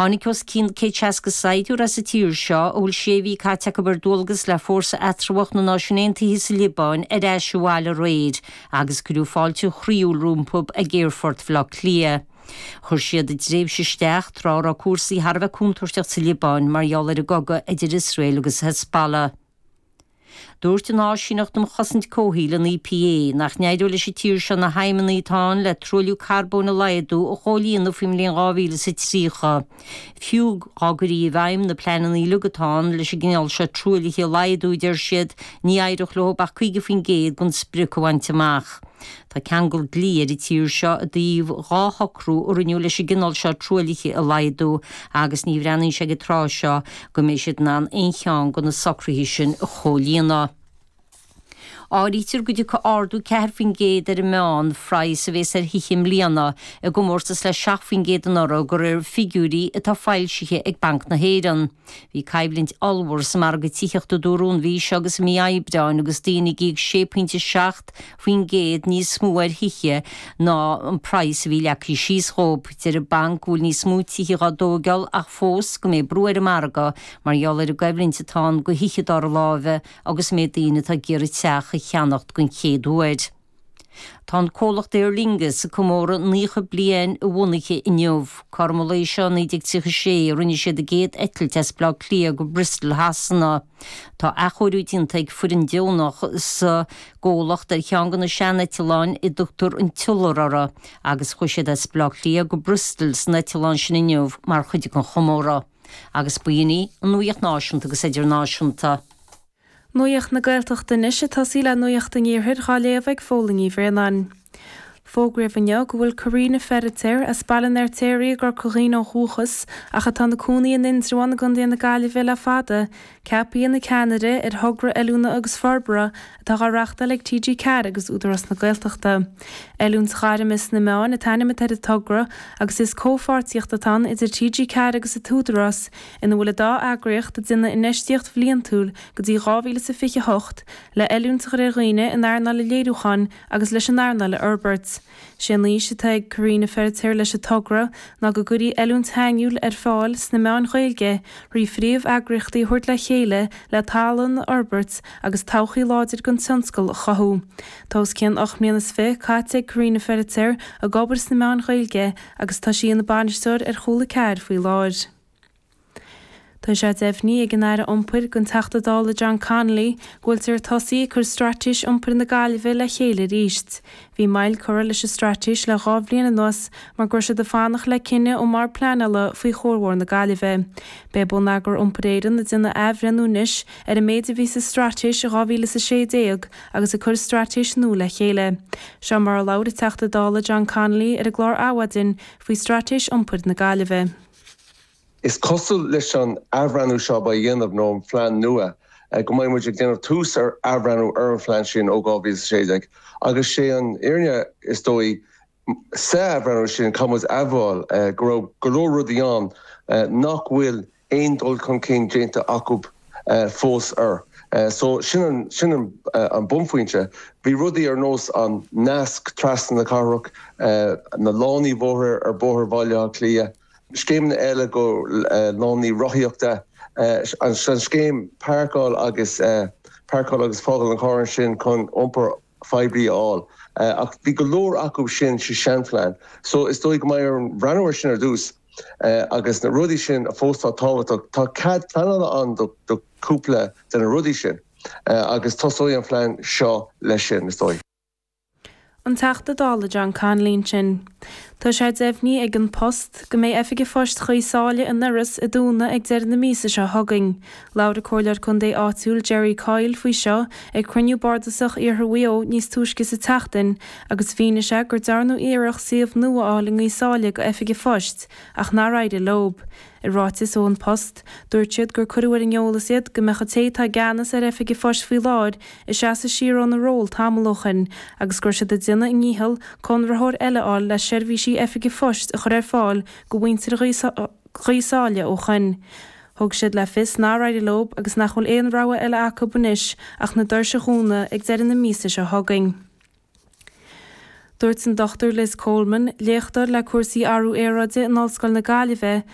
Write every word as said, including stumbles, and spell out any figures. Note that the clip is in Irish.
Tháinig os cionn céad seasca saighdiúir as an tír seo a bhfuil sé mhí caite acu ar dualgas le fórsa eatramhach na Náisiún Aontaithe sa Liobáin ar ais abhaile aréir agus cuireadh fáilte chroíúil rompu ag Aerfort Bhaile Átha Cliath. Chuir siad a dtréimhse isteach tráth a raibh cúrsaí thar a bheith contúirteach sa Liobáin mar gheall ar an gcogadh idir Iosrael agus Hezbollah. Dúirt an Áisíneacht um Chosaint Comhshaoil an EPA nach n-éireoidh leis an tír seo na haidhmeanna atá ann le truailliú carbóin a laghdú a chomhlíonadh faoin mbliain dhá mhíle is a tríocha. Fiú dá gcuirfí i bhfeidhm na pleananna uilig atá ann leis an gcineál seo truaillithe a laghdú, deir siad, ní éireodh leo ach caoga faoin gcéad den sprioc a bhaint amach. Tá ceangal dlí ar an tír seo i dtaobh dhá shocrú a rinneadh leis an gcineál seo truaillithe a laghdú agus ní bhreathnaíonn sé ag an tráth seo go mbeidh siad in ann aon cheann de na socruithe sin a chomhlíonadh. Áirítear go dtiocfaidh ardú ceathair faoin gcéad ar an meán phraghas a bhéas ar thithe i mbliana, i gcomórtas le seacht faoin gcéad anuraidh, de réir figiúirí atá foilsithe ag Banc na hÉireann. Bhí coimhlint ollmhór sa margadh tithíochta dúradh an mhí seo agus i mí Aibreáin agus daoine ag íoc sé pointe seacht faoin gcéad níos mó ar thithe ná an praghas a bhí leagtha síos dhóibh. Deir an banc go bhfuil níos mó tithe dhá dtóigeáil ach fós go mbeidh brú ar an margadh mar gheall ar an gcoimhlint atá ann do thithe dara láimhe agus an méid daoine atá ag iarraidh teach a cheannacht den chéad uair. Tá an comhlacht Aer Lingus ag comóradh naocha bliain a bhunaithe inniu. Cothrom an lae seo naoi déag tríocha sé a rinne siad a gcéad eitilt as Baile Átha Cliath go Bristol Shasana. Tá athchóiriú déanta ag foireann deonach sa gcomhlacht ar cheann de na seaneitleáin a dtugtar an tIolar orthu agus chuaigh siad as Baile Átha Cliath go Bristol san eitleán sin inniu mar chuid den chomóradh. Agus b'in í an nuacht náisiúnta agus idirnáisiúnta. Nuacht na Gaeltachta anois ag tosaí le Nuacht an Iarthair dhá léamh ag Fódhla Ní Bhraonáin. Fógraíodh inniu go bhfuil Karina Feiritéar as Baile an Fheirtéaraigh i gCorca Dhuibhne ó dhúchas ach atá ina cónaí in Indreabhán i gContae na Gaillimhe le fada, ceaptha ina ceannaire ar thogra oiliúna agus forbartha atá á reáchtáil ag TG Ceathair agus Údarás na Gaeltachta. Oiliúint Ghairme sna Meáin an t-ainm atá ar an togra agus is comhpháirtíocht atá ann idir TG Ceathair agus an tÚdarás ina bhfuil an dá eagraíocht ag déanamh infheistíocht bhliantúil go dtí dhá mhíle is a fiche a hocht le oiliúint a chur ar dhaoine in earnáil an léiriúcháin agus leis an earnáil a fhorbairt. Sé an fhís atá ag Karina Feiritéar leis an togra ná go gcuirfí oiliúint shainiúil ar fáil sna meáin Ghaeilge thrí phríomh-eagraíochtaí a thabhairt le chéile le tallann a fhorbairt agus todhchaí láidir don tionscal a chothú. Tá os cionn ocht mbliana is fiche caite ag Karina Feiritéar ag obair sna meáin Ghaeilge agus tá sí ina bainisteoir ar Chúla Ceathair faoi láthair. Tá sé deimhnithe ag an Aire Iompair don Teachta Dála John Connolly go bhfuiltear ag tosaí ag cur Straitéis Iompair na Gaillimhe le chéile arís. Bhí moill curtha leis an straitéis le dhá bhliain anuas mar go raibh siad ag fanacht le cinneadh ón mBord Pleanála faoi Chuarbhóthar na Gaillimhe. Beidh Bonneagar Iompair Éireann ag déanamh athbhreithniú anois ar an méid a bhí sa straitéis i dhá mhíle is a sé déag agus ag cur straitéis nua le chéile. Seo mar a labhair an Teachta Dála John Connolly ar an gclár Adhmhaidin faoi Straitéis Iompair na Gaillimhe. Is cosúil leis an athbhreithniú seo a dhéanamh nó an phlean nua go mbeidh muid ag déanamh tús ar athbhreithniú ar an phlean sin ó dhá mhíle is a sé déag agus sé an fhírinne is dóigh sa athbhreithniú sin caithfidh muid a admháil go raibh go leor rudaí ann nach bhfuil aon dul chun cinn déanta acu fós air. So sin an sin an an bunphointe. Bhí rudaí ar nós an nasc trasna na cathrach, na lánaí bóthair ar Bhóthar Bhaile Átha Cliath, scéimeanna eile go lánaí rothaíochta, an scéim páirceáil agus páirceáil agus fágáil an charr ansin chun iompar phoiblí a fháil. Ach bhí go leor acu sin sa seanphlean. So is dóigh go mbeidh orainn breathnú air sin ar dtús agus na rudaí sin a fós tá tábhachtach. Tá cead pleanála ann do do cúpla de na rudaí sin agus tosóidh an phlean seo leis sin, is dóigh. An Teachta Dála John Connolly ansin. Tá sé deimhnithe ag An Post go mbeidh Oifig an Phoist Chois Sáile in Iorras ag dúnadh ag deireadh na míosa seo chugainn. Labhair an Comhairleoir Contae áitiúil Jerry Coyle faoi seo ag cruinniú bardasach Iarthar Mhaigh Eo níos túisce sa tseachtain agus mhínigh sé gur dearnadh iarracht suíomh nua a fháil i nGaoth Sáile go Oifig an Phoist ach nár éirigh leo. I ráiteas ó An Post, dúirt siad gur cuireadh ar an eolas iad go mbeadh an té atá i gceannas ar Oifig an Phoist faoi láthair ag seasamh siar óna ról tamall ó shoin agus go raibh siad ag déanamh a ndícheall conraitheoir eile a fháil le seirbhísí Oifig an Phoist a chur ar fáil go mhuintir Ghaoth Sáile ó shoin. Thug siad le fios nár éirigh leo agus nach bhfuil aon rogha eile acu anois ach na doirse a dhúnadh ag deireadh na míosa seo chugainn. Dúirt an Dochtúir Liz Coleman, léachtóir le cúrsaí athrú aeráide in Ollscoil na Gaillimhe,